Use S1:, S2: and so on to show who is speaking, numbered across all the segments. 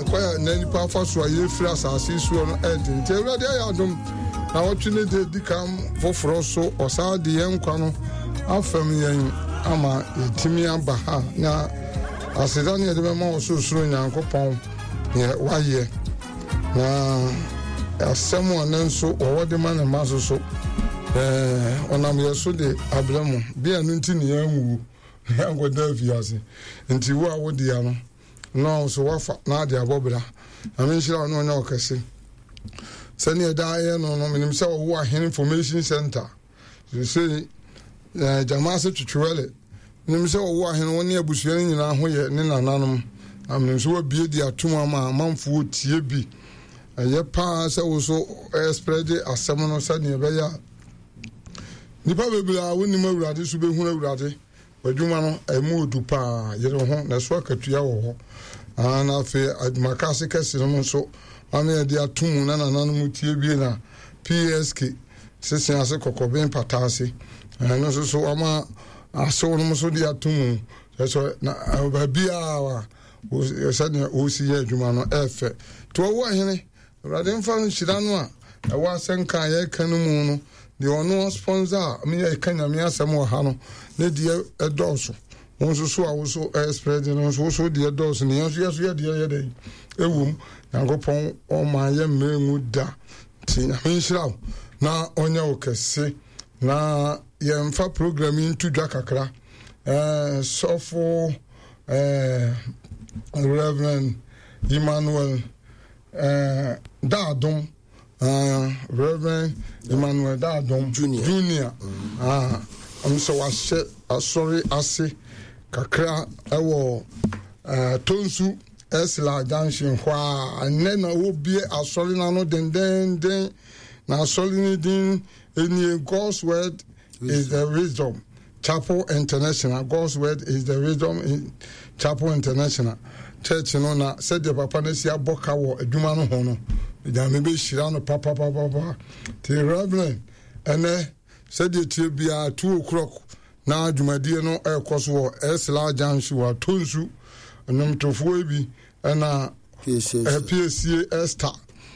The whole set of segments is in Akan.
S1: Ɛkwan a nnɛ nnipa afa so a yɛfiri asase soɔ no ɛden. Nti Awurade ayɛ adom na wɔtwe ne de di kan foforɔ so ɔsan de yɛn nkwa no afam yɛn ama yɛtumi aba ha na aseda ne yɛde bɛma ɔsorosoro Nyankopɔn neɛ wayɛ na asɛm a ne nso wɔwɔ de ma ne mma so so ɔnam yɛ so de abrɛ mo bia no nti ne yɛanwuo na yɛankɔda afiase nti wo a wodea no na nso wafa na ade abɔ bra. Nyame nhyira wo na ɔnyɛ wo kɛse. Sɛnea ɛda yɛ no no, menim sɛ ɔwɔ Ahene Information Center. Sɛ eh, gyama ase twetwewɛle. Menim sɛ ɔwɔ ahene wo ne abusua no nyinaa ho yɛ ne nananom. Na menim sɛ wabie de atom ama amanfoɔ tie bi. Ɛyɛ paa sɛ wo so ɛsprɛde asɛm no sɛnea ɛbɛyɛ a nnipa bebree a wonim Awurade so bɛhunu Awurade. W'adwuma no, ɛmu odu paa. Yere wo ho, na ɛso akatua wɔ hɔ. Ah, na afei adwumaka ase kɛse no nso, maame yɛde ato mu na nananom tie bie na PSK sese ase kɔkɔben pata ase. Ɛno nso so wama asew no nso de ato mu. Sɛ na baabiara sɛdeɛ wɔsi yɛ adwuma no ɛfɛ. Nti wɔwɔ ahene Awurade mfa nhyira no a ɛwɔ asɛnka a yɛreka no mu no, deɛ ɔno ɔsponsor a me yɛka Nyame asɛm wɔ ha no, ne deɛ ɛdɔɔso. Wo nso so a wo so ɛspread no nso wo so deɛ dɔɔso ne yɛn nso yɛ so yɛ deɛ yɛ dɛn ɛwom. Nyankopɔn ɔma yɛ mmerɛ ngu da. Nti Nyame nhyira wo na ɔnyɛ wo kɛse na yɛmfa program yi nto dwa kakra. Eh, sɔfo eh, Reverend Emmanuel Eh, Daadom, uh, Reverend Emmanuel Daadom Junior, Junior. Mm. Uh, ɔno sɛ wahyɛ asɔre ase kakra ɛwɔ uh, Tonsu Esla Junction hɔ a ɛnɛ na wɔbie asɔre no ano dendenden na asɔre no din ɛnie God's Word is the Wisdom. Chapel International, God's Word is the Wisdom in Chapel International Church no na sɛdeɛ papa no asi abɔ ka wɔ adwuma no ho no, Nyame bɛhyira no papapapapa. Nti Reverend, ɛnɛ sɛdeɛ tie biara 2 o'clock na dwumadie no ɛrekɔ so wɔ Esla Junction wɔ Atonsu nnwomtofoɔ bi ɛna Piesie Esther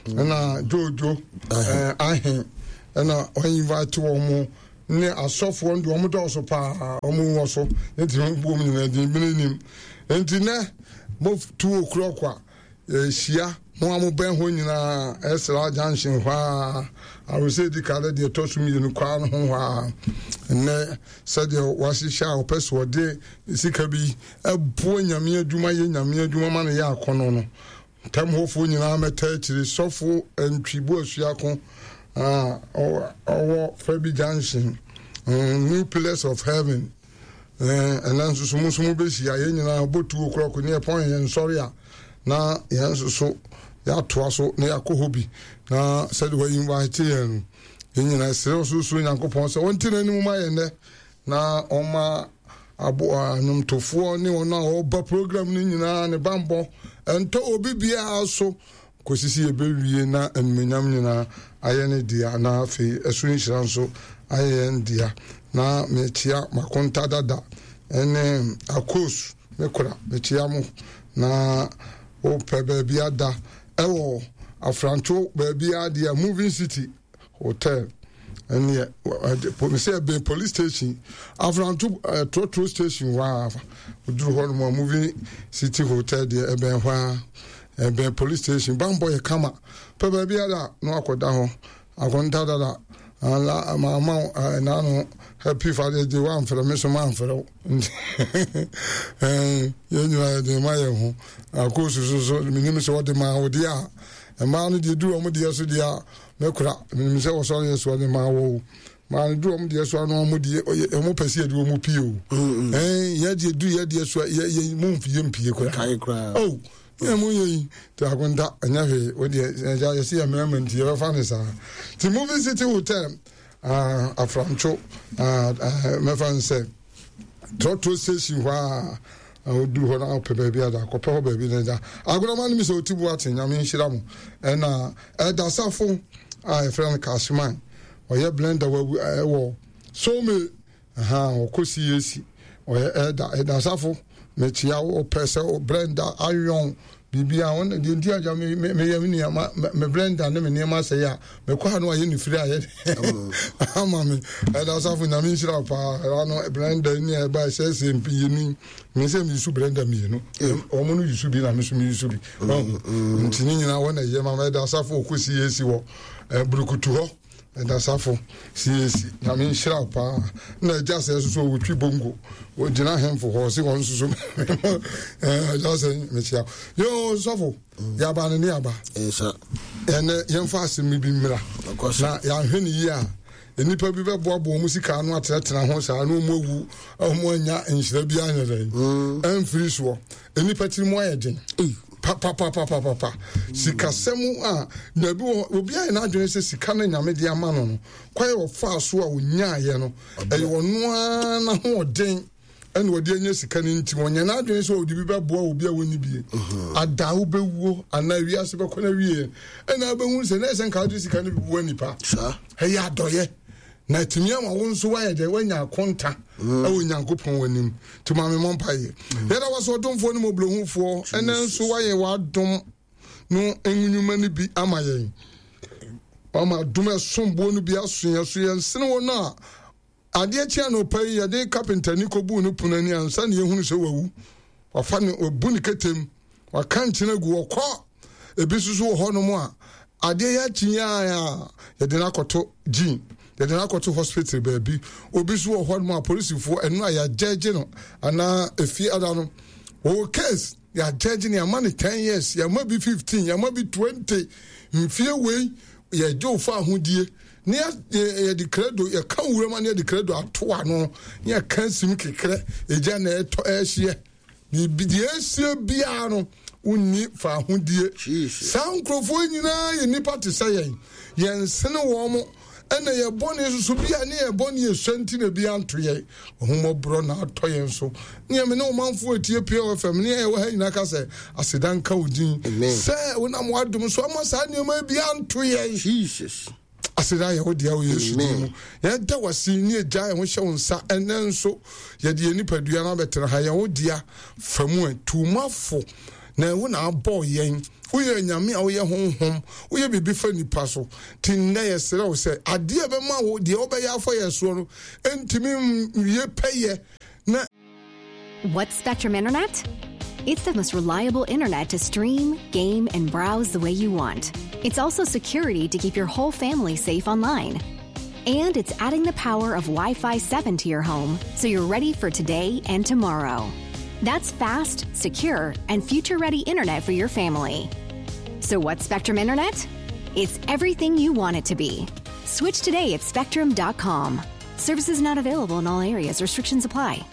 S1: ɛna Jojo Ahen ɛna ɔinvite wɔn mo ne asɔfoɔ no deɛ wɔn dɔɔso paa wɔn wɔ so nti wɔn bu wɔn nyinaa din bene nim nti nɛ mo 2 o'clock a yɛhyia mo a mo bɛn hɔ nyinaa ɛsra junction hɔ a arosɛ di ka deɛ ɛtɔ so mmienu kwaa no ho hɔ a nnɛ sɛdeɛ wahyehyɛ a ɔpɛ so ɔde sika bi ɛboa nyame adwuma yɛ nyame adwuma ma no yɛ akɔnɔ no Ntam hɔfoɔ nyinaa mmɛtaa akyire. Sɔfo Antwi Boasuako a ɔwɔ Fabi Junction, New Pillars of Heaven. Ɛnɛ nso so mo nso mobɛhyia yɛn nyinaa bɔ tuo korɔko ne yɛpɔn yɛn nsɔre a na yɛn nso so yɛatoa so na yɛakɔ hɔ bi na sɛde wɔyi invite yɛn no yɛn nyinaa srɛ ɔsorosoro Nyankopɔn sɛ ɔnte n'anim ma yɛn nnɛ na ɔma aboa nnwomtofoɔ ne wɔn a wɔba program no nyinaa ne bammɔ ɛntɔ obi biara so kɔsi sɛ yɛbɛwie na animuonyam nyinaa ayɛ ne dea na afei ɛso nhyira nso ayɛ yɛn dea na mekyia makonta dada ɛne akos me kora mekyia mo na wopɛ baabi ada ɛwɔ afranto baabi adeɛ moving city hotel ɛneɛ sɛ ɛbɛn police station afranto trɔtrɔ station hɔ a woduru hɔ nom a moving city hotel deɛ ɛbɛn hɔ a ɛbɛn police station bambɔ yɛ kama pɛ baabi ada na wakɔda hɔ akonta dada ala maama naano happy father's day wamfrɛ me so mamfrɛ wo nti yɛn nyinaa yɛde ma yɛn ho akoosu so so menim sɛ wɔde maa wo deɛ a mmaa no deɛ duru wɔn deɛ so deɛ a mɛkora menim sɛ wɔsɔre yɛ soɔ ne maa wɔ o maa no duru wɔn deɛ so ano wɔn deɛ wɔn pɛ sɛ yɛde wɔn pie o ɛn yɛ deɛ duru yɛ deɛ so yɛ yɛ mu yɛ mpie koraa o yɛ mu yɛ yi te akonta ɛnyɛ hwee o deɛ ɛgya yɛsi yɛ mmarima nti yɛbɛfa ne saa ti movie city hotel ah afrantwo ah mɛfa nsɛ. Trɔtrɔ station hɔ a na woduru hɔ na wopɛ baabi ada akɔpɛ hɔ baabi na ɛda agorɔma no mi sɛ ɔti bu ate nyame nhyira mo ɛna ɛda safo a yɛfrɛ no cashman ɔyɛ blender wawu ɛwɔ some ha ɔkɔ CAC ɔyɛ ɛda ɛda safo mekyia wopɛ sɛ blender ayɔn. Biribiara wɔn deɛ nti agya me me meyɛ me nneɛma me blender ne me nneɛma asɛe a mekɔ ha no ayɛ ne firi ayɛ ama me. Ɛda asafo Nyame nhyira wo paa. Ɛda no blender ne a ɛba ɛsɛsɛ mmienu me sɛ me blender mmienu wɔn no yusu bi na me nso me yusu bi. Nti ne nyinaa wɔn na ɛyɛ ma ɛda asafo ɔkɔ CAC wɔ burukutu hɔ. Ɛda safo CAC Nyame nhyira wo paa na agya sɛ nso so ɔtwi bongo ɔgyina hemfo hɔ ɔse wɔn nso so agya sɛ mekyia yo sɔfo yɛaba no ne aba ɛnɛ yɛmfa asɛm bi mmra na yɛahwɛ ne yie a nnipa bi bɛboaboa wɔn sika ano atenatena ho saa na wɔn awu wɔn anya nhyira bi anyɛ dɛn ɛmfiri soɔ nnipa tiri mu ayɛ den papapapapapa sikasɛm a na ebi wɔ obi ayɛ n'adwene sɛ sika no nyame de ama no no kwan a ɔfaa so a onyaayɛ no ɛyɛ ɔno ara n'ahoɔden ɛna ɔde anya sika no nti wɔnyɛ n'adwene sɛ ɔde bi bɛboa obi a wɔnni bie mhm. ada wobɛwuo anaa wiase bɛkɔ no awie ɛna wobɛhu sɛ na ɛsɛ nka wode sika no bi boa nipa ɛyɛ adɔyɛ na atumi ama wo nso woayɛ dɛ woanya akonta mm. ɛwɔ nyankopɔn w'anim nti ma me mmɔ mpaeɛ mm. yɛda wɔ sɛ ɔdomfoɔ ne mmɔborɔhufoɔ ɛnɛ nso woayɛ w'adom no nnwuma no bi ama yɛn ama adom ɛsomboɔ no bi aso yɛn so yɛnsene wɔ no a Adeɛ kye anɔpa yi, yɛde kapentani kɔbuu ne pono ani ansa na yɛhunu sɛ wawu. Wafa ne, wabu ne ketem, waka nkyene agu, ɔkɔ. Ebi nso so wɔ hɔnom a, adeɛ yɛ akyi a yɛde no akɔto gyin, yɛde no akɔto hospital baabi. Obi nso wɔ hɔnom a polisifoɔ ɛno a yɛagyɛgye no anaa efie ada no, wɔwɔ case yɛagyɛgye no, yɛama no 10 years, yɛama bi 15, yɛama bi 20 mfie wei yɛgye wo fa ahodie ne yɛde kredo yɛka nwura ma ne yɛde kredo ato ano ne yɛka nsim kekrɛ egya na ɛtɔ ɛhyeɛ biribi deɛ ɛsie biara no wonni fa ahodie saa nkurɔfoɔ nyinaa yɛ nnipa te sɛ yɛn yɛnsene wɔn mo ɛna yɛ bɔne soso bi a ne yɛ bɔne esua nti na bi anto yɛn ɔhomɔborɔ na atɔ yɛn so ne yɛn ne ɔmanfoɔ etie POFM ne yɛn wɔ ha nyinaa ka sɛ aseda nka wo din sɛ wonam w'adom so ama saa nneɛma bi anto yɛn.
S2: Jesus.
S1: Aseda yɛ wo dea wɔ Yesu din mu. Yɛda wase ne agya yɛn ho hyɛ wo nsa ɛnɛ nso yɛde yɛn nipadua no abɛtena ha yɛn wo dea fa mu ɛ tumafo na wo na abɔ yɛn woyɛ nyame a woyɛ honhom woyɛ biribi fa nipa so nti nnɛ yɛsrɛ wo sɛ adeɛ bɛma wo deɛ wobɛyɛ afa yɛ soɔ no ɛntumi nwie pɛyɛ na
S3: What's Spectrum Internet? It's the most reliable internet to stream, game, and browse the way you want. It's also security to keep your whole family safe online. And it's adding the power of Wi Fi 7 to your home so you're ready for today and tomorrow. That's fast, secure, and future ready internet for your family. So, what's Spectrum Internet? It's everything you want it to be. Switch today at spectrum.com. Services not available in all areas, restrictions apply.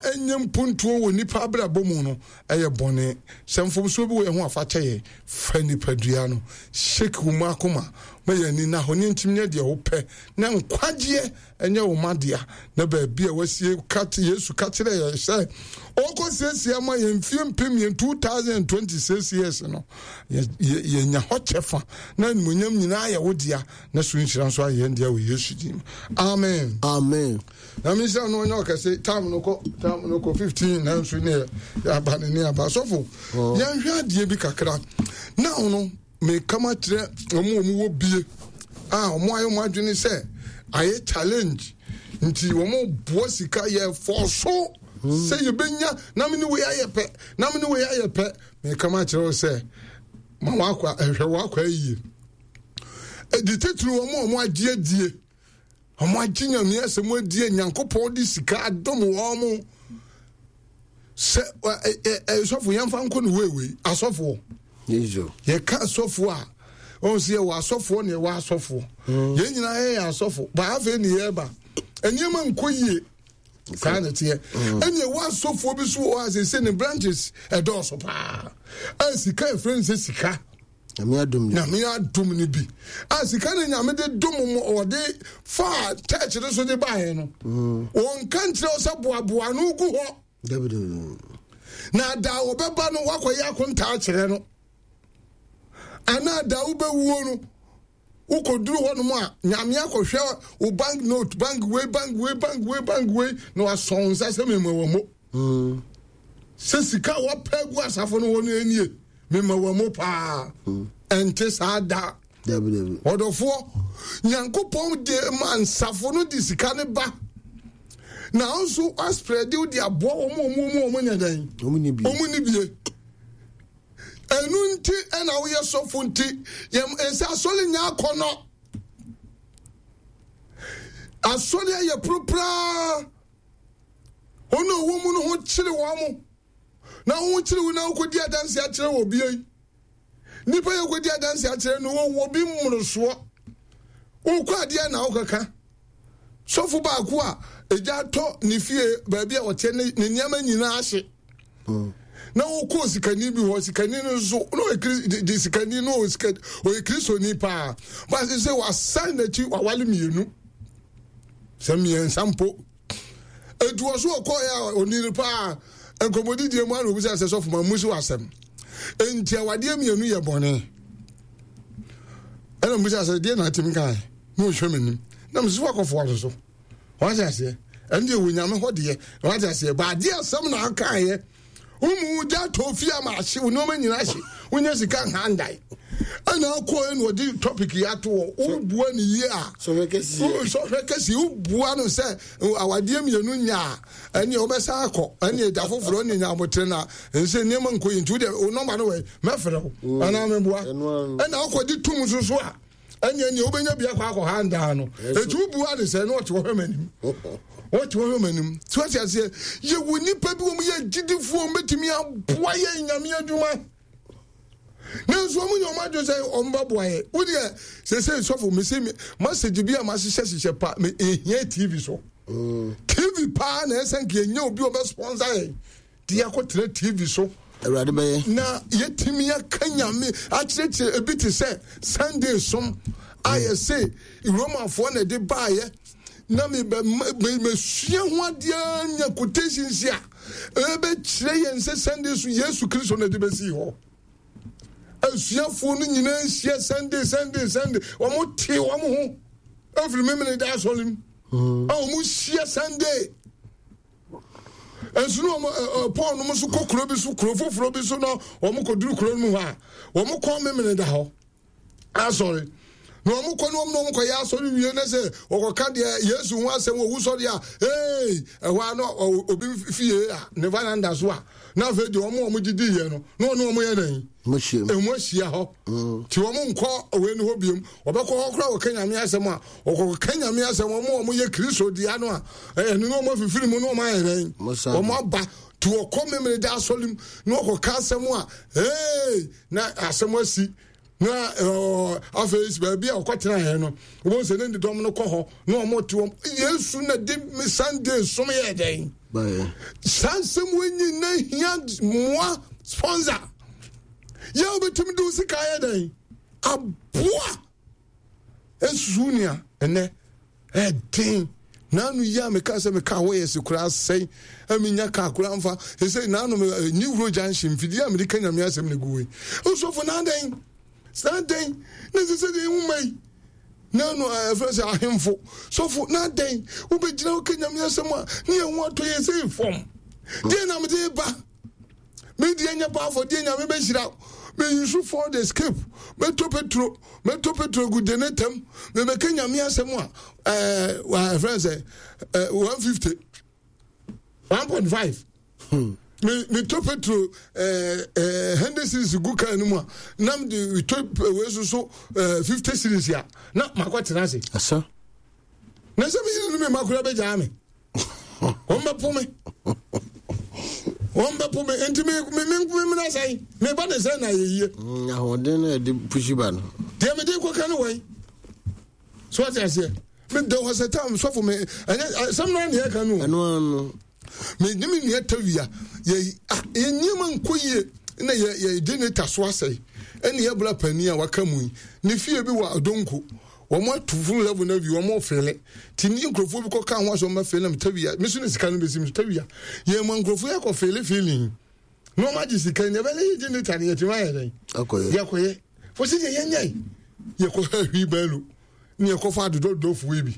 S1: Ɛnyɛ mpuntuo wɔ nnipa abrabɔ mu no yɛ bɔne. Sɛ mfomsoɔ bi wɔ yɛn ho a, fa kyɛ yɛn. Fa nipadua no shake wo mu akoma ma yɛn ani nna hɔ ne ntim nyɛ deɛ wopɛ na nkwagyeɛ nyɛ wo ma dea. Na baabi a wasie ka Yesu ka kyerɛ yɛn sɛ ɔkɔ siesie ama yɛn mfie mpem yɛn 2026 years no yɛnya hɔ kyɛfa na animuonyam nyinaa yɛ wo dea na so nhyira nso ayɛ yɛn dea wɔ Yesu din mu. Amen.
S2: Amen.
S1: Na me nhyira no ɔnyɛ ɔkɛse tam no kɔ tam no kɔ 15 nanso ne yɛ aba ne ne aba sɔfo oh. yɛnhwɛ adeɛ bi kakra na no meka ma kyerɛ wɔn wɔn wɔ bie a wɔn ayɛ wɔn adwene sɛ ayɛ challenge nti wɔn boa sika yɛ fɔ so hmm. sɛ yɛbɛnya na me ne wei ayɛ pɛ na me ne wei ayɛ pɛ meka ma kyerɛ wo sɛ ma wakɔ ɛhwɛ wakɔ ayie ɛdi titiri wɔn a wɔn agye adie Wɔn agye nyame asɛm adie Nyankopɔn de sika adom wɔn mo sɛ sɔfo yɛmfa nkɔ no weiwei asɔfoɔ yɛka asɔfoɔ a wɔn sɛ yɛwɔ asɔfoɔ na yɛwɔ asɔfoɔ mm. yɛn nyinaa yɛyɛ asɔfo ba afei ne yɛreba nneɛma nkɔ yie saa na ɛteɛ mm. ɛne ɛwɔ asɔfoɔ bi so wɔ hɔ a sɛ ne branches ɛdɔɔso paa a sika ɛfrɛ no sɛ sika
S2: Nyame adom
S1: no bi. Nyame adom no bi. A sika no Nyame de dom mo ɔde faa church no so de baeɛ no. Mm. Wɔnka nkyerɛ wo sɛ boaboa no gu hɔ. Na da wɔbɛba no wakɔyɛ akontaa kyerɛ no. Anaa da wobɛwuo no wokɔduru hɔnom a Nyame akɔhwɛ wo bank note bank wei bank wei bank wei bank wei na wasɔn wo nsa sɛ mema wɔ mo. Mm. Sɛ sika a wɔpɛ gu asafo no hɔ no ɛnie. Mema wɔ mo paa. Ɛnte saa da. Ɔdɔfoɔ, Nyankopɔn de ma nsafo no de sika no ba. Na nso asprɛde wo de aboa wɔn a wɔn wɔn nyɛ dɛn? Wɔn ni bie. Ɛnu nti ɛna woyɛ sɔfo nti yɛn nsa asɔre nyɛ akɔnɔ. Asɔre ayɛ poropraa. Wɔn a wɔwɔ mu no ho kyere wɔn. Na ho kyere wo na wokɔdi adanse akyerɛ wɔ bie. Nipa yɛ kɔdi adanse akyerɛ no wɔwɔ bi mmorosoɔ. Wokɔ adeɛ na wokɔka. Sɔfo baako a egya atɔ ne fie baabi a ɔteɛ ne nneɛma nyinaa ahye. Na wokɔɔ sikani bi hɔ, sikani no nso na ɔyɛ de sikani no ɔyɛ kristoni paa. Baasi sɛ wasan n'akyi wawale mmienu sɛ mmiɛnsa mpo. Etu wɔ so ɔkɔɔ yɛ a ɔni no paa nkɔmmɔdidie mu ana obisa sɛ sɔfo ma mmusi wɔ asɛm. Enti awadeɛ mmienu yɛ bɔne. Ɛna mbisa sɛ deɛ na atumi kae na ɔhwɛ m'anim na mesi wakɔfoa so so wate aseɛ ɛno deɛ wɔ nyame hɔ deɛ wate aseɛ baadeɛ asɛm na akaeɛ womu gya tɔ fie ama ahye wo nneɛma nyina ahye wonya sika nhandae ɛna akɔɛ na ɔde topic yi ato hɔ wobua ne yie a sɔhwɛ kɛseɛ wobua no sɛ awadeɛ mmienu nya a ɛneɛ wobɛsa akɔ ɛneɛ da foforɔ ne nya abotere no a ɛnsɛ nneɛma nkɔ yi nti wodeɛ wo nɔmba no wɔ mɛfrɛ wo mm. anaa meboa ɛna wokɔgye tom nso so a ɛneɛ neɛ wobɛnya bi akɔ akɔ ha ndaa no ɛti wobua ne sɛ na ɔte hɔ hwɛ m'anim ɔte hɔ hwɛ m'anim so ate aseɛ yɛwɔ nnipa bi wɔm yɛ gyidifoɔ wɔbɛtumi aboa yɛ nyame adwuma nanso wɔn nyɛ wɔn adwene sɛ wɔn bɛboa yɛ wo deɛ sese sɔfo mese masage bi a mahyehyɛ hyehyɛ pa me ehia tv so mm. tv paa na ɛsɛ nka yɛnyɛ obi ɔbɛ sponsor yɛn de yɛakɔtena tv so
S2: awurade bɛyɛ
S1: na yɛtumi aka nyame akyerɛkyerɛ ebi te sɛ sunday som a mm. yɛse romafoɔ na ɛde baayɛ na mebɛsua ho adeɛ nya quotations a ɛbɛkyerɛ yɛn sɛ sunday so yesu kristo na ɛde bɛsii hɔ asuafoɔ no nyinaa nhyia sunday sunday sunday wɔn te wɔn ho ɛfiri memene da asɔre mu mm. a wɔn hyia sunday nso na wɔn paul nom nso kɔ kuro bi so kuro foforɔ bi so na wɔn kɔduru kuro no mu hɔ a wɔn kɔ memene da hɔ asɔre na wɔn kɔ ne wɔn na wɔn kɔ yɛ asɔre wie na sɛ wɔkɔka deɛ yesu ho asɛm wɔ wusɔre a ee ɛhɔ a na obi fie a ne varanda so a na afei deɛ wɔn a wɔn didi yɛ no na wɔn wɔn yɛ dɛn emu ahyia hɔ mm. ti wɔn nkɔ wei no hɔ biem wɔbɛkɔ hɔ koraa wɔka nyame asɛm a wɔkɔka nyame asɛm wɔn a wɔn yɛ kristo dea no a ɛno na wɔn afifiri mu na wɔn ayɛ dɛn wɔn aba ti wɔkɔ memere da asɔre mu na wɔkɔka asɛm a ee na asɛm asi na afei baabi a ɔkɔtena yɛn no wɔn sɛ ne dɔm no kɔ hɔ na wɔn te wɔn yesu na de sunday som yɛ dɛn saa nsɛm wɔn nyina hia mmoa sponsor yɛ wobɛtumi de wo sika yɛ dɛn aboa Nsusuw nea ɛnnɛ ɛden naanu yi a meka sɛ meka hɔ yɛ se koraa sɛn menya kaa koraa mfa ɛsɛ naanu new road junction mfidie a mede ka nyame asɛm na gu wei nsɔfo na adɛn saa dɛn na ɛsɛ sɛ deɛ nwoma yi naanu ɛfrɛ sɛ ahemfo sɔfo na adɛn wobɛgyina wo ka nyame asɛm a ne yɛn ho atɔ yɛ sɛ fam deɛ na mede ba Me deɛ nyɛ pa afɔdeɛ nyame bɛhyira me use Ford Escape mɛtɔ petro mɛtɔ petro gu de ne tɛm mebɛka nyame asɛm a ɛɛ ɛfrɛ sɛ ɛɛ 150 1.5 hmm. me metɔ petro ɛɛ ɛɛ 100 series gu kaa no mu a na me de tɔ wei soso ɛɛ 50 series a na makɔ tena ase.
S2: Asa.
S1: Na sɛ me yere no me ma koraa bɛgyaa me. Wɔn bɛpo me. Wɔn bɛpo me nti me me me me mena sɛn me ba ne sɛn na ayɛ yie.
S2: Mm, ahoɔden na yɛde pusi ba no.
S1: Deɛ mede kɔka no wɔn so ate aseɛ me da hɔ sɛ tam sɔfo me ɛnyɛ asɛm no ne yɛka no.
S2: Ɛno ano.
S1: Me ne me nua tawia yɛ ah yɛ nneɛma nkɔ yie na yɛ yɛ generator so asɛe ɛne yɛ bra panin a waka mu yi ne fie bi wɔ adonko. Wɔn ato funu level no awie wɔn fele ti ne nkurɔfoɔ bi kɔ ka ho asɛ wɔn bɛfele na tawia me so ne sika no bɛsi me so tawia yɛn mu nkurɔfoɔ yɛ akɔ fele feeling na wɔn agye sika ne ɛbɛn yɛ gye ne ta ne yɛtumi ayɛ dɛn yɛkɔyɛ fo si deɛ yɛnyɛ yɛkɔ ha hwi bɛɛlo ne yɛkɔ fa adodɔdɔfoɔ yi bi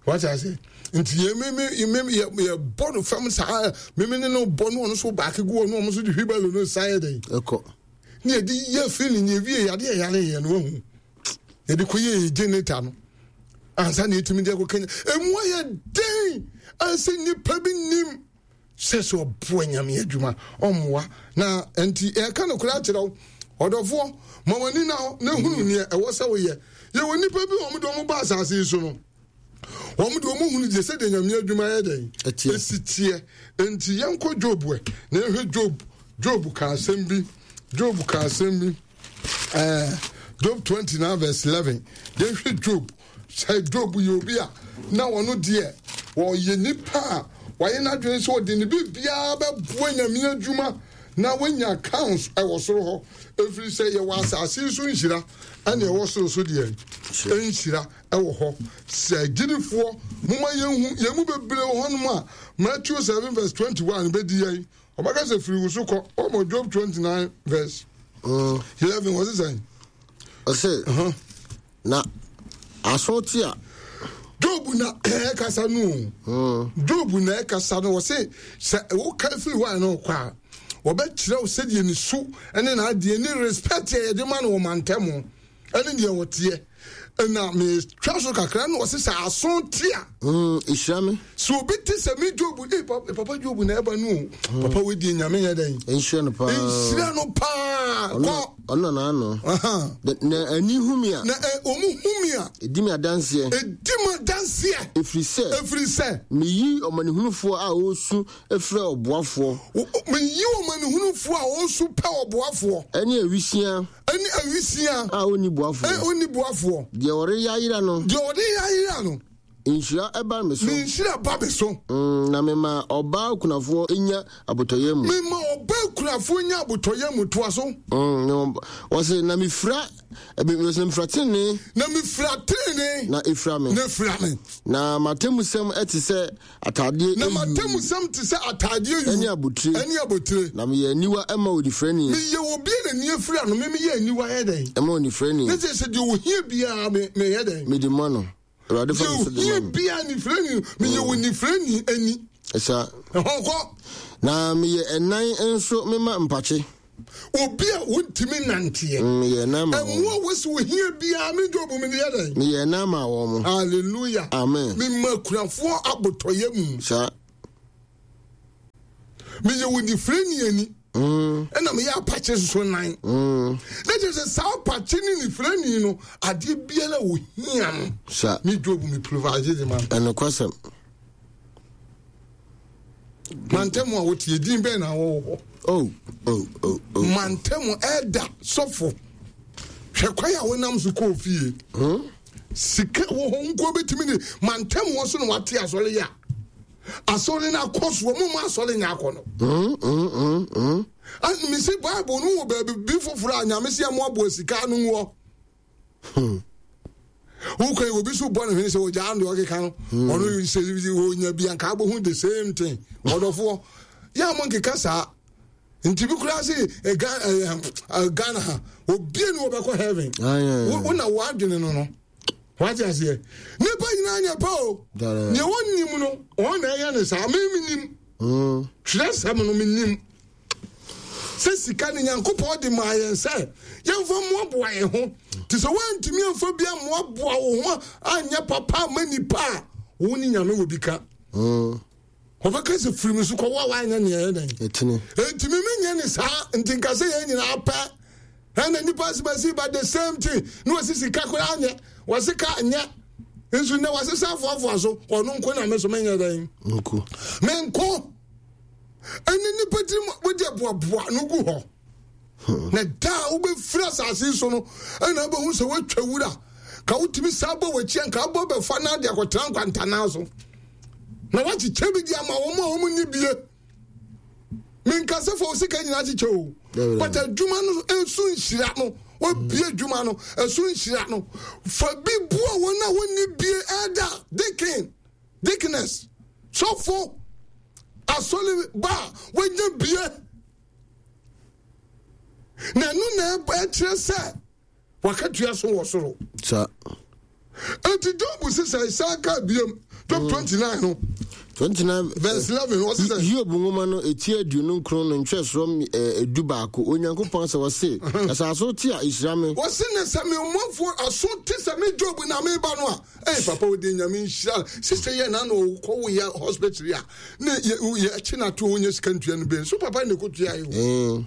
S1: wate ase nti yɛ me me me yɛ yɛ bɔ no fam saa me me ne no bɔ no ɔno so baako gu ɔno ɔmo so de hwi bɛɛlo no sa yɛ dɛn
S2: ɛkɔ.
S1: Ne yɛde yɛ feeling yɛwie yadeɛ yɛyare yɛ no wahu. Yɛde kɔ yɛ generator no. Ansa na yɛtumi de akɔ Kenya. Emu ayɛ den ansa nnipa bi nim sɛ sɛ ɔboa nyame adwuma ɔmmoa na nti ɛka nokorɛ akyerɛ wo ɔdɔfoɔ ma w'ani na hɔ na hunu neɛ ɛwɔ sɛ woyɛ. Yɛwɔ nnipa bi wɔn de wɔn ba asase yi so no wɔn de wɔn hunu deɛ sɛdeɛ nyame adwuma yɛ dɛn ɛsi teɛ. Nti yɛnkɔ Job ɛ na yɛhwɛ Job. Job ka asɛm bi. Job ka asɛm bi. Ɛɛ Job 29 verse 11. Yɛhwɛ Job. Sɛ Job yɛ obi a na ɔno deɛ ɔyɛ nipa a wayɛ n'adwene sɛ ɔde ne biribiara bɛboa nyame adwuma na wanya accounts ɛwɔ soro hɔ. Ɛfiri sɛ yɛwɔ asase so nhyira ɛne ɛwɔ soro so deɛ nhyira ɛwɔ hɔ. Sɛ agyidifoɔ moma yɛnhu yɛn mu bebree wɔ hɔnom a Matthew 7 verse 21 bɛdi yɛn. Ɔbɛka sɛ firi wo so kɔ. Wɔmɔ Job 29 verse 11 wɔ se sɛn?
S2: Ɔse na aso te a.
S1: Job na ɛkasa no o. Job na ɛkasa no wɔse sɛ woka firi hɔ a na ɔkɔ a wɔbɛkyerɛ wo sɛdeɛ ne su ne n'adeɛ ne respect a yɛde ma no wɔ mantam ɛne deɛ wɔteɛ na metwa so kakra na ɔse sɛ aso te a
S2: ɛhyira me
S1: sɛ obi te sɛ me Job eh, papa Job na ɛba no o mm. papa wei nyame yɛ dɛn
S2: nhyira no paa
S1: nhyira no paa kɔ
S2: ɔno na ano na ani hu mi a
S1: na ɔmu hu mi a
S2: ɛdi mi adanseɛ
S1: ɛdi mu adanseɛ
S2: ɛfiri sɛ
S1: ɛfiri sɛ
S2: meyi ɔmanehunufoɔ a ɔresu frɛ ɔboafoɔ
S1: meyi ɔmanehunufoɔ a ɔresu pɛ ɔboafoɔ
S2: ɛne awisia
S1: Ɛne awisia.
S2: A ɔnni boafoɔ.
S1: Ɛ ɔnni boafoɔ.
S2: Deɛ ɔreyɛ ayera no.
S1: Deɛ ɔreyɛ ayera no.
S2: Nhyira ba me so.
S1: Ne nhyira ba me so.
S2: Mm, na mema ɔbaa okunafoɔ nya abotɔyam mu.
S1: Mema ɔbaa okunafoɔ nya abotɔyam mu toa so.
S2: Mm, wɔse na mefira wɔse na mefira tenenee.
S1: Na mefira tenenee.
S2: Na efira me.
S1: Na efira me.
S2: Na m'atemmusɛm te sɛ Ataadeɛ
S1: Na m'atemmusɛm te sɛ ataadeɛ yuu.
S2: Ɛne abotire.
S1: Ɛne abotire.
S2: Na meyɛ aniwa ma onifirani.
S1: Meyɛ obi a n'ani afira no, me meyɛ aniwa yɛ dɛn?
S2: Ɛma onifirani.
S1: Ne sɛ sɛ deɛ ohia biara me meyɛ dɛn?
S2: Mede ma no. Awurade fa me so de ma no.
S1: Deɛ ohia biara nifirani, meyɛ mm. onifirani ani.
S2: Ɛsa.
S1: Ɛhɔ kɔ.
S2: Na meyɛ ɛnan nso mema mpakye.
S1: Obi a wontumi nanteɛ.
S2: Mm, meyɛ ɛnan ma wɔn.
S1: Ɛmu a wɔsi ohia biara me Job mede yɛ dɛn?
S2: Meyɛ ɛnan ma wɔn.
S1: Hallelujah.
S2: Amen.
S1: Mema akunafoɔ abotɔyɛ mu.
S2: Saa.
S1: Meyɛ onifirani ani. Mm. Ɛna meyɛ apakye soso nan.
S2: Mm.
S1: Na kyerɛ sɛ saa apakye ne nifirani no adeɛ biara ohia no.
S2: Saa.
S1: Me Job me provide de ma no.
S2: Ɛnokwasɛm.
S1: Mantam a wote edin bɛn na wɔwɔ hɔ?
S2: Oh, oh, oh, oh.
S1: Mantam ɛda sɔfo. Hwɛ kwan a wonam so kɔɔ fie.
S2: Hmm?
S1: Sika wɔ hɔ nko betumi ne mantam wɔ so na wate asɔre yɛ a. Asɔre no akɔ so, wɔn mu asɔre nyɛ akɔ no.
S2: Hmm, hmm, hmm, hmm.
S1: Mesi Bible no wɔ baabi bi foforɔ a nyame sɛ ɛmoaboa sika no wɔ.
S2: Hmm.
S1: wokɔ yi obi so bɔ ne hwene sɛ ogyaa deɛ ɔkeka no hmm. ɔno sɛ ɔnya bi anka abɛhu the same thing ɔdɔfoɔ yɛ a mo nkeka saa nti bi koraa se eh, eh, eh, Ghana ha obie ne wɔbɛkɔ heaven wo na woadwene no no wate aseɛ nipa nyinaa nyɛ pɛ o deɛ wɔnnim no wɔn na ɛyɛ ne saa me menim
S2: hmm.
S1: twerɛsɛm no menim sɛ sika no nyankopɔn de maa yɛn sɛ yɛmfa mmoaboa yɛn ho nti sɛ woantumi amfa bi ammoaboa wo ho anyɛ papa ama nipa a wo ne nyame wɔ bi ka
S2: mm.
S1: ɔbɛka sɛ firi me so kɔ wo a woanyɛ neɛ ɛyɛ dɛn
S2: ɛntimi
S1: menyɛ ne saa nti nka sɛ yɛn nyinaa pɛ ɛna nipa asimasi ba the same thing na wɔsi sika koraa nyɛ wɔsi ka nyɛ nso nnɛ wɔasesa afoafoa so ɔno nko na me so menyɛ dɛn menko ɛne nipa tirim wode boaboa no gu hɔ hmm. na da a wobɛfiri asase so no ɛna wobɛhu sɛ woatwa wura ka wotumi saa bɔ w'akyi anka wobɔ bɛfa no ade akɔtena nkwantanaa so na woakyekyɛ bi de ama wɔn a wɔn nni bie menka sɛ fa wo sika nyinaa kyekyɛ o but adwuma no nso nhyira no wabie adwuma no ɛso nhyira no fa bi boa wɔn a wɔnni bie ɛda deacon Deaconess, sɔfo, asɔre ba a wanya bie. Na ɛno na ɛkyerɛ sɛ wakatua so wɔ soro.
S2: Sa.
S1: Enti Job sesa san ka biam Job 29 no.
S2: 29
S1: verse 11 wɔse sɛ
S2: Hiob nwoma no eti 29 no ntwerɛsoɔ 11 Onyankopɔn sɛ wɔse ɛsɛ aso te a ɛhyira me.
S1: Wɔse ne sɛ me ɔmanfoɔ aso te sɛ me Job na meba no a ɛy papa wode Nyame nhyira sisɛ yɛ na na ɔkɔ wo yɛ hospital a ne yɛ akyi na to wonya sika ntua no bɛn so papa ne kɔtua yɛ o.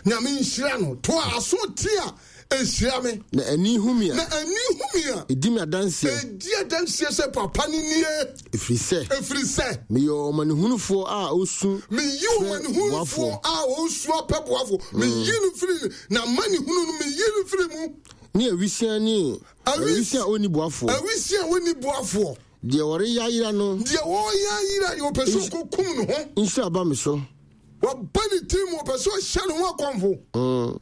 S1: Nyame nhyira no to a aso te a ɛhyira me.
S2: Na ani hu me a.
S1: Na ani hu me a.
S2: Ɛdi me adanseɛ.
S1: Ɛdi adanseɛ sɛ papa no nie.
S2: Ɛfiri sɛ.
S1: Ɛfiri sɛ.
S2: Meyɛ ɔmanehunufoɔ a ɔsu.
S1: Meyi ɔmanehunufoɔ a ɔsu apɛ boafoɔ. Meyi no firi n'amanehunu no, meyi no firi mu.
S2: Ne awisia ne awisia a ɔnni boafoɔ.
S1: Awisia a ɔnni boafoɔ.
S2: Deɛ ɔreyɛ ayera no.
S1: Deɛ ɔreyɛ ayera deɛ ɔpɛ sɛ ɔkɔkum ne ho.
S2: Nhyira ba me so.
S1: Wabɔ ne tirim ɔpɛ sɛ ɔhyɛ ne ho akɔmfo.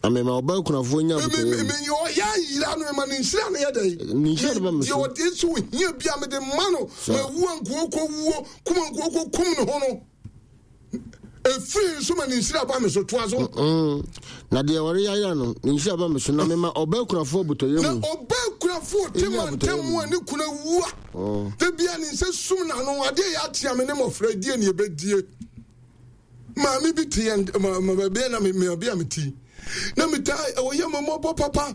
S2: Na mema ɔbaa kunafoɔ nya abotɔyam.
S1: Me ɔyɛ ayera no mema ne nhyira no yɛ dɛn?
S2: Ne nhyira no ba me so.
S1: Deɛ ɔde sɛ ohia bi a mede ma no ma wu anka ɔkɔ wuo kum anka ɔkɔ kum ne ho no. Efiri nso ma ne nhyira ba me so toa so.
S2: Na deɛ ɔreyɛ ayera no ne nhyira ba me so na mema ɔbaa kunafoɔ abotɔyam.
S1: Na ɔbaa kunafoɔ te ma ntɛm mu a ne kunu awu a. Da bia ne nsa sum n'ano adeɛ yɛ atea me ne mmɔfra die ne ɛbɛdie. Maame bi te yɛn ma ma baabi a na me me baabi a me ti na me taa ɔyɛ me mmɔbɔ papa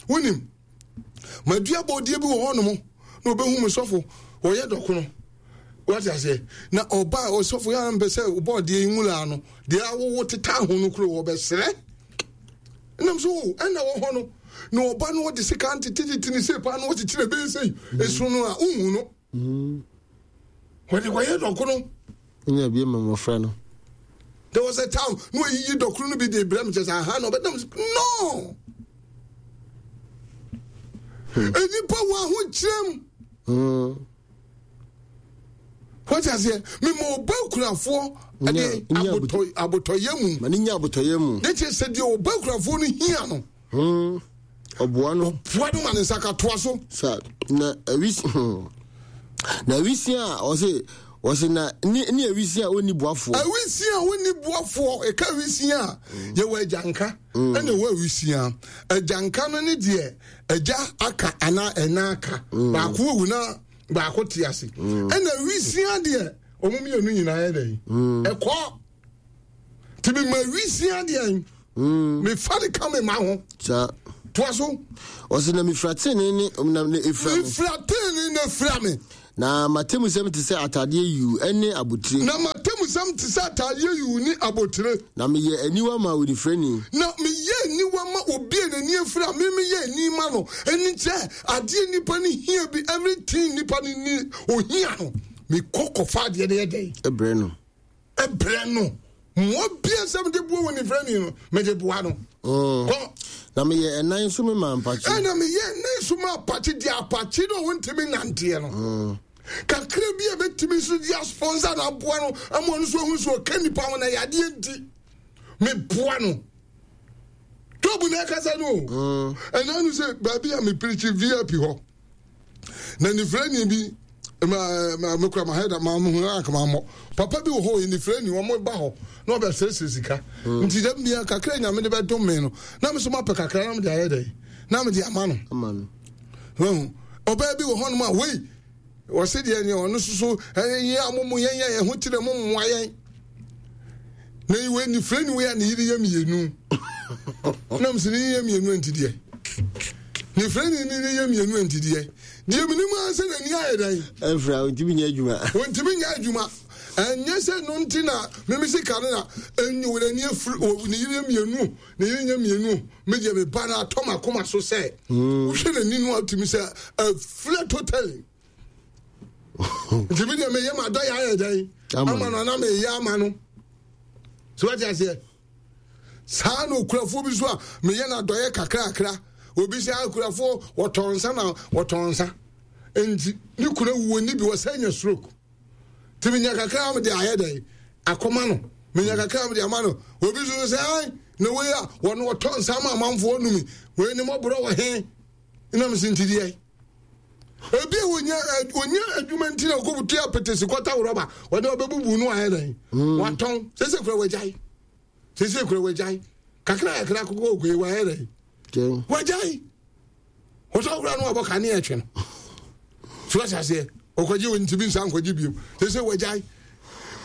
S1: wonim madua bɔdeɛ bi wɔ hɔnom na ɔbɛhu me sɔfo ɔyɛ dɔkono wate aseɛ na ɔba ɔsɔfo yɛ mpɛ sɛ bɔdeɛ yi nwura no deɛ awowo teta ho no kuro wɔbɛsrɛ nam so o ɛna wɔ hɔ no na ɔba no ɔde sika ntetetete ne sei paa na ɔkyekyere bɛyɛ sei esu no a wohu no Wɔde kɔyɛ dɔkono.
S2: Nya bi ma mmɔfra no.
S1: There was a time na wɔyiyi dɔkono no bi de brɛ me kyɛ sɛ aha na ɔbɛdam no. Nnipa wɔ ahokyerɛ mu. Wɔte aseɛ mema ɔba kurafoɔ de abotɔyɛ mu.
S2: Ma ne nya abotɔyɛ mu.
S1: Ne kyerɛ sɛ deɛ ɔba kurafoɔ no hia no.
S2: Ɔboa no.
S1: Ɔboa no ma ne nsa ka toa so.
S2: Sa na awisi na awisi a ɔse ɔse na ne ne awisi a ɔnni boafoɔ.
S1: Awisi a ɔnni boafoɔ ɛka awisi a yɛwɔ agyanka ɛna ɛwɔ awisi a agyanka no ne deɛ agya aka anaa ɛna aka baako awu na baako te ase ɛna awisi deɛ wɔn mmienu nyinaa yɛ dɛ ɛkɔ. nti mema wisia deɛn mm. mefa de ka me ma ho toa so
S2: ɔsɛ na mefira tenene ne na ne efira
S1: me mefira tenene na efira me
S2: na m'atemmusɛm te sɛ atadeɛ yuu ne abotire
S1: na m'atemmusɛm te sɛ atadeɛ yuu ne abotire
S2: na meyɛ aniwa ma onifirani
S1: na meyɛ aniwa ma obi a n'ani afira me meyɛ ani ma no ɛne kyɛ adeɛ nipa no hia bi everything nipa no ni ohia no mekɔ kɔfa adeɛ no yɛ dɛn
S2: ɛbrɛ no
S1: Ɛbrɛ no mmoa bia sɛ mede boa wɔ nifrani no mede boa no mm.
S2: kɔ na meyɛ ɛnan so me ma apakye
S1: ɛna meyɛ ɛnan so ma apakye deɛ apakye no a wɔntumi nanteɛ no mm. kakra bi a bɛtumi so de asponsor na aboa no ama ɔno so ahu so ɔka nipa ho na yadeɛ nti meboa no Job na ɛkasa no o mm. ɛna no sɛ baabi a mepirikyi vip hɔ Na nifirani bi ma ma mekura ma hɛda ma mo huna anka ma mmɔ papa bi wɔ hɔ yɛ nifirani wɔn ba hɔ na ɔbɛ srɛsrɛ sika mm. nti dɛm bia kakra nyame de bɛdom me no na me so mapɛ kakra na mede ayɛ dɛ na mede ama no wahu ɔbaa bi wɔ hɔ nom a wei wɔse deɛ neɛ ɔno soso ɛyɛ a mo mo yɛn yɛn ɛho kyerɛ mo mmoa yɛn na wei nifirani wei a ne yere yɛ mmienu nam sɛ ne yere yɛ mmienu nti deɛ Ne frɛni ne ne yɛ mmienu antideɛ. Deɛ menim ara sɛ n'ani ayɛ dɛn.
S2: Ɛmfira, ɔntumi nyɛ adwuma.
S1: Ɔntumi nyɛ adwuma. Ɛnyɛ sɛ no nti na meme sika no na ɛnyi wɔ n'ani afiri ne yere mmienu ne yere nyɛ mmienu me deɛ me ba no atɔ m'akoma so sɛ hmm. wohwɛ n'ani no atumi sɛ afira totally nti me deɛ meyɛ m'adɔ yɛ ayɛ dɛn ama no ana meyɛ ama no so wate aseɛ Saa na okurafoɔ bi nso a meyɛ no adɔeɛ kakrakra. Obi sɛ akurafoɔ wɔtɔn nsa na wɔtɔn nsa. Nti ne kunu awu wɔnni bi wɔsɛ nya stroke. Nti menya kakra mede ayɛ dɛn akɔma no. Menya kakra mede ama no. Obi nso sɛ ai na wei a wɔn wɔtɔ nsa ama amanfoɔ numi. Wei ne mɔborɔ wɔ he. Nam se nti deɛ. Ebi a wɔnya wɔnya adwuma nti na wɔkɔbutu apetesi kɔta rɔba wɔde ɔbɛbubu no ayɛ dɛn. Watɔn sese kura wɔagyae. Sese kura wagyae. Kakra kakra koko okoe wayɛ dɛ. Wagyae. Wɔtɔ kura no abɔ kanea ɛtwe no. So wate aseɛ. Ɔkɔgye wɔ ntumi nsa nkɔgye biom. Sɛ sɛ wagyae.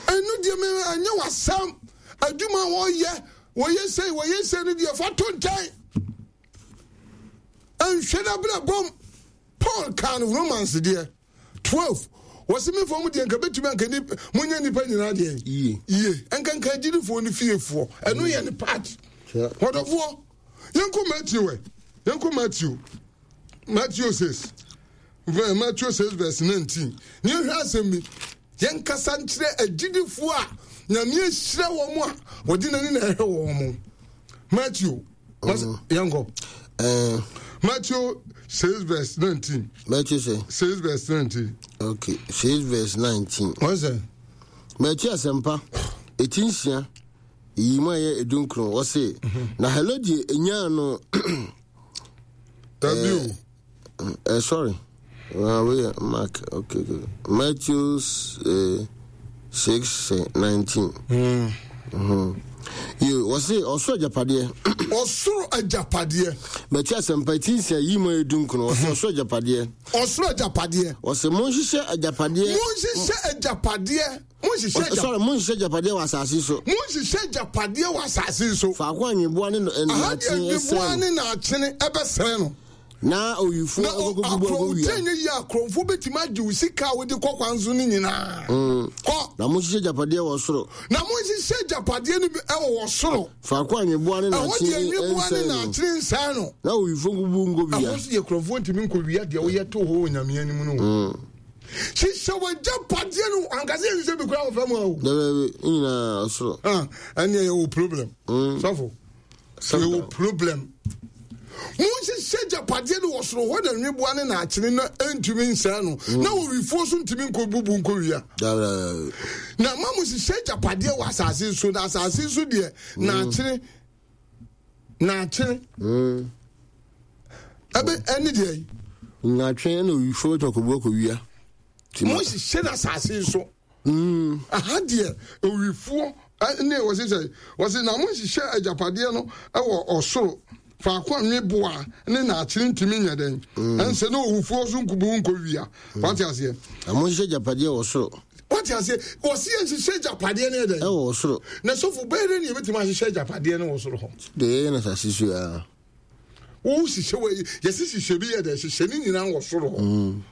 S1: Ɛno deɛ me ɛnyɛ w'asɛm. Adwuma a wɔyɛ, wɔyɛ sei, wɔyɛ sei no deɛ fa to nkyɛn. Nhwɛ n'abrabɔm. Paul kaa no Romans deɛ 12 wɔsi mi fam deɛ nka bɛtumi anka ni monyɛ nipa nyinaa deɛ yie nka nka agyidifoɔ ne fiefoɔ ɛno yɛ ne part wɔdɔfoɔ yɛnkɔ Matthew ɛ yɛnkɔ Matthew Matthew 6 Matthew 6 verse 19 ne yɛhwɛ asɛm bi yɛnkasa nkyerɛ agyidifoɔ a nyame ahyira wɔn a wɔde n'ani na ɛhwɛ wɔn mo Matthew yɛnkɔ eh. Matthew 6 verse 19
S2: Matthew sɛ
S1: 6 verse 19
S2: okay 6 verse 19
S1: wɔn sɛ
S2: Matthew asɛmpa ɛti nsia yi mu a ɛyɛ edunkron wɔse mhm. na Herode nyaa no
S1: Dabi o.
S2: Eh, sorry. Uh, we Mark. Okay, okay. Matthew uh, 6 19. Mm. Mm-hmm. You was say ɔsoro agyapadeɛ.
S1: Ɔsoro agyapadeɛ.
S2: Mɛti asɛmpa ti nsia yi mu edu nkono ɔsɛ ɔsoro agyapadeɛ.
S1: Ɔsoro agyapadeɛ.
S2: Ɔsɛ monhyehyɛ agyapadeɛ.
S1: Monhyehyɛ agyapadeɛ. Monhyehyɛ agya.
S2: Sorry, monhyehyɛ agyapadeɛ wɔ asase so.
S1: Monhyehyɛ agyapadeɛ wɔ asase so.
S2: Faako a nweboa ne
S1: Aha deɛ nweboa ne naakyene ɛbɛsɛe no.
S2: Na owifoɔ ɛkɔkɔ bubu akɔwia.
S1: Na nyɛ yie akorɔmfoɔ bɛtumi agye wo sika a wode kɔ kwan so no nyinaa. Mm. Kɔ.
S2: Na monhyehyɛ agyapadeɛ wɔ soro.
S1: Na monhyehyɛ agyapadeɛ no bi ɛwɔ wɔ soro.
S2: Faako a nweboa ne naakyene
S1: nsɛe no. Ɛhɔ deɛ nweboa ne naakyene nsɛe no.
S2: Na owifoɔ nkubu nkɔwia.
S1: Ɛhɔ nso deɛ korɔmfoɔ ntumi nkɔwia deɛ woyɛ to hɔ wɔ Nyame anim no. Mm. Hyehyɛ w'agyapadeɛ no ankasa yɛ hyehyɛ bi koraa wɔ fam ha o.
S2: Dɛbɛbi nyinaa ɔsoro.
S1: Ah, ɛnneɛ yɛwɔ problem. Mm. Sɔfo, yɛwɔ problem. Monhyehyɛ agyapadeɛ no wɔ soro hɔ na nweboa ne naakyene na ɛntumi nsɛe no mm. na owifoɔ so ntumi nkɔ bubu nkɔwia. Na ma mo hyehyɛ agyapadeɛ wɔ asase so na asase so deɛ mm. naakyene naakyene mm. ɛbɛ ɛne deɛ yi.
S2: Nnaatwe na owifoɔ bɛtumi akɔbu akɔwia.
S1: Mo hyehyɛ no asase so. Mm. Aha deɛ owifoɔ ne wɔsi sɛ wɔsi na mo hyehyɛ agyapadeɛ no wɔ ɔsoro faako a nweboa ne naakyene ntumi nyɛ dɛn mm. ɛnsɛ na owufoɔ so nkubu nkɔwia mm. wate aseɛ.
S2: Na mo hyehyɛ agyapadeɛ wɔ soro.
S1: Wate aseɛ wɔsi yɛn hyehyɛ agyapadeɛ no yɛ dɛn.
S2: Ɛwɔ ɔsoro.
S1: Na sɔfo bɛyɛ dɛ ne yɛbɛtumi ahyehyɛ agyapadeɛ no wɔ soro hɔ.
S2: Deɛ yɛyɛ no asase so a.
S1: Wo hyehyɛ wɔ yɛsi hyehyɛ bi yɛ dɛ hyehyɛ ne nyinaa wɔ soro hɔ.
S2: Mm.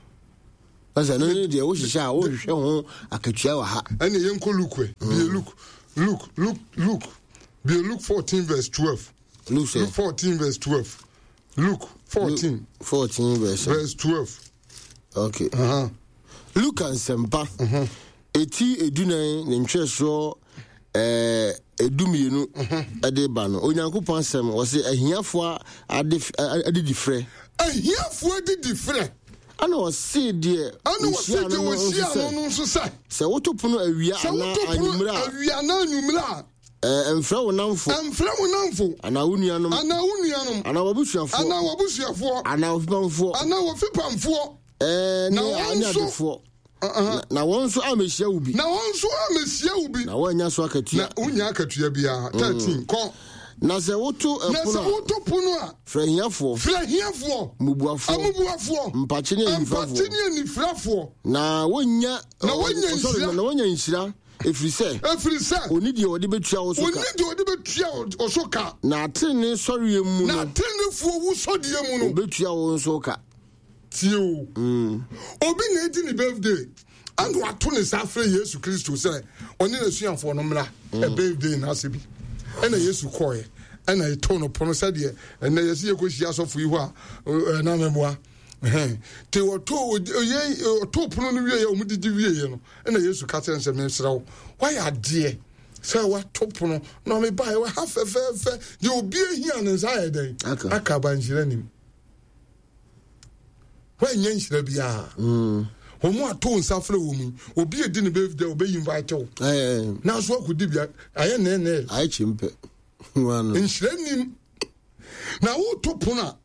S2: Ɛsɛ no ne deɛ wohyehyɛ a wohwehwɛ ho akatua wɔ ha.
S1: Ɛne yɛnkɔ Luke ɛ. Mm. Bie Luke Luke Luke Luke bie Luke 14 verse 12.
S2: Luke
S1: sɛ. Luke 14 verse 12. Luke 14.
S2: Luke 14 verse.
S1: Verse 12.
S2: Okay. Uh -huh. Luka nsɛmpa. Uh -huh. Eti edunan ne ntwerɛsoɔ ɛɛ edumienu ɛde ba no Onyankopɔn asɛm wɔsi ahiafoɔ ade adidifrɛ.
S1: Ahiafoɔ adidifrɛ.
S2: Ɛna ɔse deɛ
S1: ɔhyia no no nso sɛ. No nso sɛ.
S2: Sɛ woto pono awia anaa anwummerɛ a.
S1: Awia anaa anwummerɛ a.
S2: Ɛɛ mfrɛ wo namfo.
S1: Mfrɛ wo namfo.
S2: Anaa wo nuanom.
S1: Anaa wo nuanom.
S2: Anaa w'abusuafoɔ.
S1: Anaa w'abusuafoɔ.
S2: Anaa w'afipamfoɔ.
S1: Anaa w'afipamfoɔ.
S2: Ɛɛ ne adefoɔ. Na wɔn nso ammɛhyia wo bi.
S1: Na wɔn nso ammɛhyia wo bi.
S2: Na wɔannya so akatua.
S1: Na wonnya akatua biara. 13 mm. Kɔ.
S2: Na sɛ woto ɛpono a.
S1: Na sɛ woto pono a.
S2: Frɛ ahiafoɔ.
S1: Frɛ ahiafoɔ.
S2: Mmubuafoɔ.
S1: Amubuafoɔ.
S2: Mpakye ne anifirafoɔ.
S1: Mpakye ne anifirafoɔ.
S2: Na wɔnnya.
S1: Na wɔnya nhyira.
S2: Na wɔnya nhyira. Ɛfiri sɛ.
S1: Ɛfiri sɛ.
S2: Ɔni deɛ ɔde bɛtua wo so ka.
S1: Ɔni deɛ ɔde bɛtua wo so ka.
S2: Na atenene sɔreɛ mu no.
S1: Na atenenefoɔ wusɔdeɛ mu no.
S2: Ɔbɛtua wo nso ka.
S1: Tie o. Obi na edi ne birthday ɛna wato ne nsa afrɛ Yesu Kristo sɛ ɔne n'asuafoɔ no mmra mm. birthday no ase bi. Ɛna Yesu kɔɔɛ ɛna ɛtoo no pono sɛdeɛ ɛnɛ yɛsi yɛkɔhyia asɔfo yi hɔ a ɛna mɛboa. Te ɔtoo ɔtoo pono no wieɛ wɔn didi wieɛ no ɛna Yesu ka kyerɛ no sɛ mesrɛ wo wayɛ adeɛ sɛ wato pono na ɔmebaeɛ wɔ ha fɛfɛɛfɛ deɛ obi ahia ne nsa ayɛ dɛn aka abanhyira nim. Woannya nhyira biara. Mm. Wɔn a to nsa frɛ wɔn yi, obi edi ne birthday obeyi invite wo. Nanso akɔdi bia ayɛ nɛɛnɛɛ.
S2: Ayɛ kyempɛ.
S1: Nhyira nim. Na woto pono a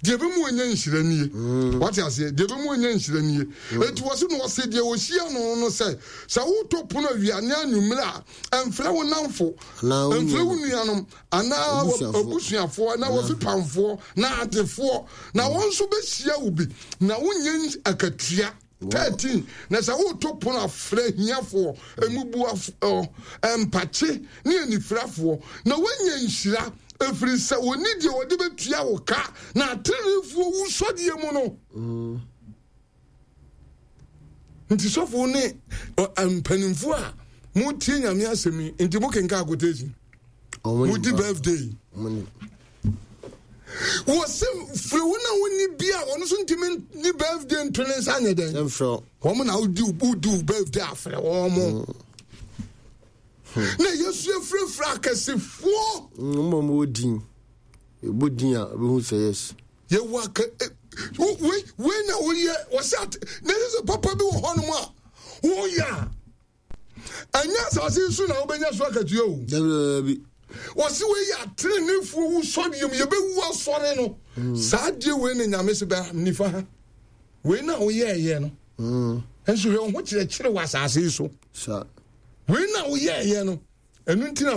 S1: deɛ ɛbɛmu anya nhyira nie. Mm. Wate aseɛ deɛ ɛbɛmu anya nhyira nie. Mm. Eti wɔsi na wɔsi deɛ wɔhyia no no sɛ sɛ woto pono awia ne anwummerɛ a ɛmfrɛ wo namfo, ɛmfrɛ wo nuanom, anaa abusuafoɔ anaa w'afipamfoɔ na adefoɔ na wɔn nso bɛhyia wo bi na wonyɛ akatua. 13 Na sɛ woto pono a, frɛ ahiafoɔ, mmubuafoɔ, mpakye ne anifirafoɔ, na woanya nhyira, ɛfiri sɛ wɔnni deɛ wɔde bɛtua wo ka, na ateneneefoɔ wusɔdeɛ mu no. Nti sɔfo ne mpanimfoɔ a motie Nyame asɛm yi, nti mokenka quotation, modi birthday. Wɔsɛ firi wo na wonni bi a wɔn nso ntumi ni birthday nto ne nsa nyɛ dɛn. Wɔn na wodi wodi wo birthday afrɛ wɔn mo. Na Yesu afirafira akɛsefoɔ.
S2: Wɔn a wɔwɔ din, ɛbɔ din a ɛbɛhu sɛ yes.
S1: Yɛwɔ akɛ wei wei na woyɛ wɔsɛ ate na ɛsɛ sɛ papa bi wɔ hɔnom a woyɛ a. Ɛnyɛ asase yi so na wobɛnya so akatua o.
S2: Dabi.
S1: Wɔsi wei yɛ ateneneefoɔ wusɔreɛ mu, yɛbɛwu asɔre no. Saa adeɛ wei na Nyame se bɛ nifa ha. Wei na woyɛɛyɛ no. Nso hwɛ wo ho kyerɛkyerɛ wɔ asase yi so. Wei na woyɛɛyɛ no. Ɛno nti na.